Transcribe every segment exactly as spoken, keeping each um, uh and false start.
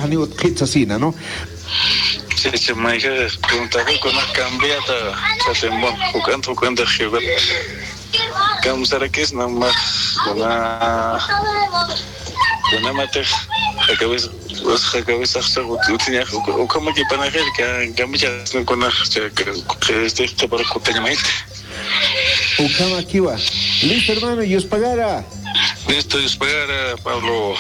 ni utqhit sasina, ¿no? Chichi mayka preguntaqa kuna cambiata chatimon, juk'anta juk'anta juk'at. Kamsarakis namax kuna kuna matix jakawis jakawis axsa utiñax ukhamaki panajir ka kamicha kuna este qhipar kutañamayta. Ukhamakiwa. Listo, hermano, Dios pagara. Listo, Dios pagara, Pablo.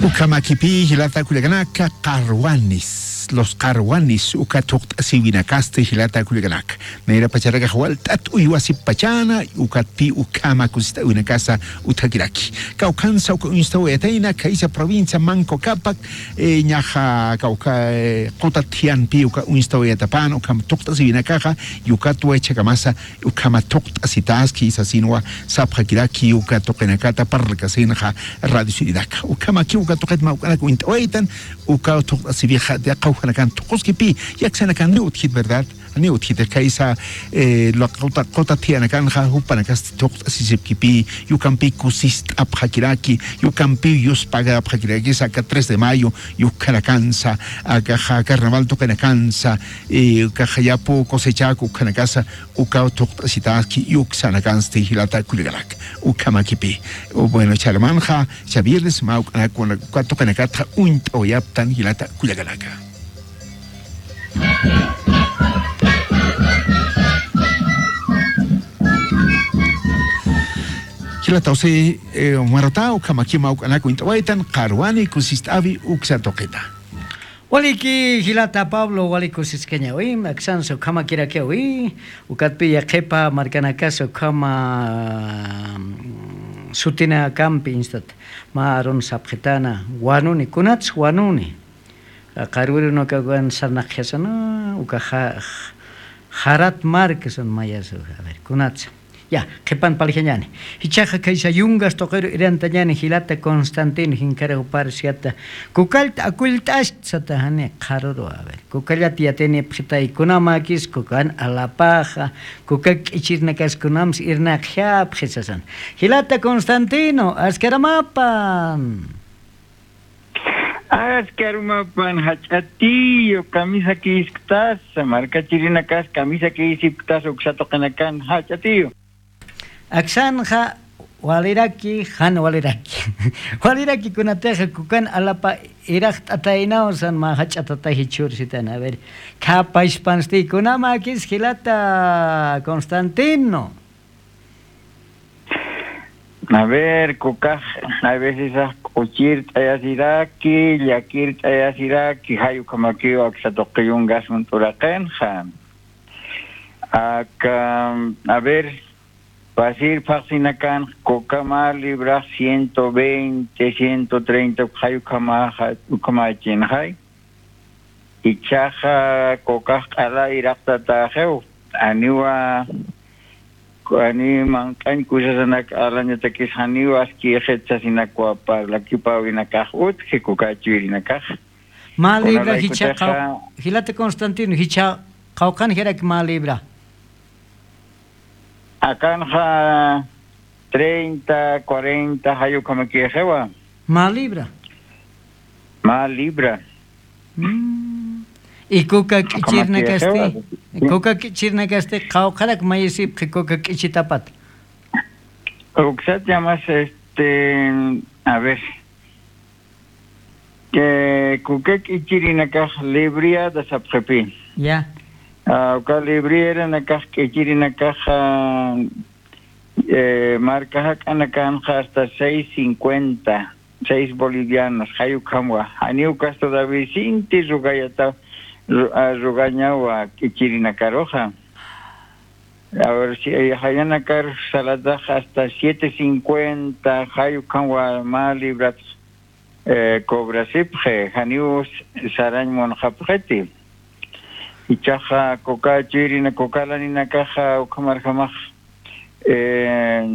Ukhamakipi jilata kullakanaka qarwanis, los qarwanis uka thuqt'asiwinakasti jilata kullakanaka. Nayra pacharakax walt'at uywasip pachana, ukatpi ukhama kusist'awinakasa utjakiraki. Kawkhansa uka uñstawayatayna khaysa provincia Manco Capac, eh, ñaxa kawkha, eh, qutat thiyanpi uka uñstawayatapan ukham thuqt'asiwinakaxa, y ukat waychakamasa ukhama thuqt'asitaski sasinwa sapxakiraki uka tuqinakata parlakasinxa radio sirinaka. Ukhamaki uka tuqit mawk'anak uñt'awaytan, uka thuqt'asiwixa qawjanakan thuquskipi, yaksanakan ni utjit, ¿verdad? Ni utjit, kaysa, eh, la quta, quta thiyanakanxa, jupanakasti thuqt'asisipkipi, yukampi kusist'apxakiraki, yukampi yuspagapxakiraki, saka tres de mayo, yukkanakansa, akaxa carnaval tuqinakansa, eh, kaxa yapu cosechaku ukhanakasa, ukaw thuqt'asitaski, yuksanakansti jilata kullakanaka, ukhamakipi. O, bueno, charmanxa, cha viernes, mawk'anakuna, uka tuqinakatxa, uñt'awayaptan jilata kullakanaka. Jilata José, eh, Marota, ukhamaki mawk'anak uñt'awaytan, qarwani kusist'awi uksa tuqita. Waliki jilata Pablo, wali kusiskañawi, aksansa ukhamakirakiwi, ukatpi yaqhipa markanakas ukhama, mm, sutinakampi instat, mä arun sapxitana, wanuni, kunats wanuni. Qarwirunakawan sarnaqjasana, uka ja-, jarat markasan mayasa, a ver, kunatsa. Ya, qhipan palijañani. Jichhaxa khaysa yungas tuqiru irantañani jilata Constantino, jinkaraw parsiata. Kukallta akullt'asht sata jani qharuru, a ver. Kukallat yatinipxitay kunamakis, kukan alapaxa, kuka k'ichirinakas kunams irnaqjapxi sasan. Jilata Constantino, askaramapan. Askarumapan jach'atiyu, kamisakïsipktasa, markachirinakas kamisakïsipktasa, uksa tuqinakan jach'atiyu. Aksanxa waliraki, jan waliraki. Waliraki kunatixa kukan alapa iraqt'ataynaw san mä jach'atataji chhursitan. A ver, khapaspansti kunamakis jilata Constantino. A ver, kukax, a veces k'uchirt'ayasiraki, llakirt'ayasiraki, jay ukhamakiw aksa tuqi yungas uñt'uraqinxa. Aka, a ver, pasir phaxsinakan, kuka mä librax ciento veinte, ciento treinta, jay ukhamaxa, ukhamachinxay. Ichhaxa kukax q'ala iraqtataxiw, aniwa, ani manq'añ kusasanak alañatakis janiw askïxit sasinakwa parlakipäwinakax utji kuka chuyrïnakax. Mä libra jichha qaw-, jilata Constantino, jichha qawqhan jirak mä libra. Akanxa treinta, cuarenta, jay ukhamakïxiwa. Mä libra. Mä libra. Mm. Y kuka k'ichirnakasti, kuka k'ichirnakasti, qawqharak mayisipxi kuka k'ichitapat. Uksat llamas, este, a ver, eh, kuka k'ichirinakax libriada sapxipi. Ya. Ah, uka libriaranakax k'ichirinakax, ah, eh, marka jak'anakanxa hasta seis cincuenta, seis bolivianos, jay ukhamwa. Janiw ukas todavía sinti rugayata, ru-, ah, rugañawa k'ichirinakaruxa. A ver, si, eh, jayanakar salatax hasta siete cincuenta, jay ukhamwa mä librat, eh, cobrasipxi, janiw sarañ munxapxiti. Ichaxa kuka chuyrina, kuka laninakaxa ukhamarjamax, eh,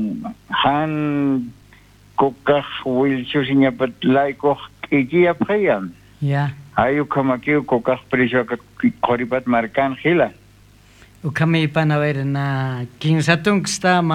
jan kukax wilsusiñapat laykux k'ichiyapxiya. Ya. Jay ukhamakiw kukax precio aka qhuripat markan jila. Ukhamïpan, a ver, na kinsa tunksta